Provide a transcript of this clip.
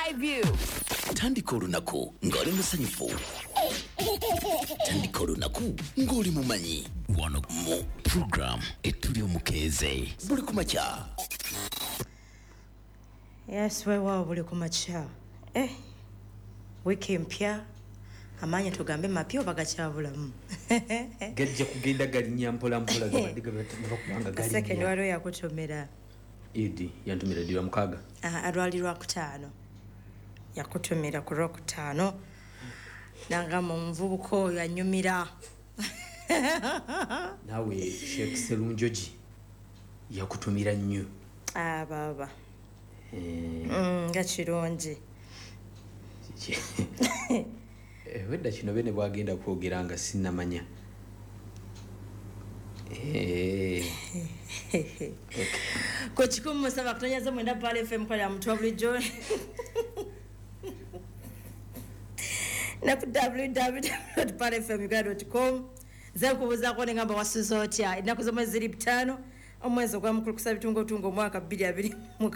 drive you. Tandika olunaku ng'oli musanyufu. Tandika olunaku ng'oli mumanyi. Wano mu program Etuli Omukeeze buli kumakya. Yes, weewaawo buli kumakya. Wiiki empya, amaanyi tugambe mapya oba gakyabulamu? Gajja kugenda galinnya mpola mpola, gabadde gabakubanga Second galinnya. Waliwo yakutumira. Idi yantumira ddi? Lwa mukaaga? Ah, lwali Lwakutaano. Yakutumira ku Lwokutaano, nagamba omuvubuka oyo anyumira. Naawe Sheekh Serunjogi yakutumira nnyo. Ah, baaba. Nga kirungi. Wedda kino bene bwagenda kwogera nga sinnamanya. Ku 107.9 Pearl FM, kolera mutwa bulijjo ne ku www.pearlfmuganda.com. Nze nkubuuzaako nengamba wasuze otya? Ennaku z'omwezi ziri 5, omwezi ogwa mukulukusa bitungotungo, omwaka 2026.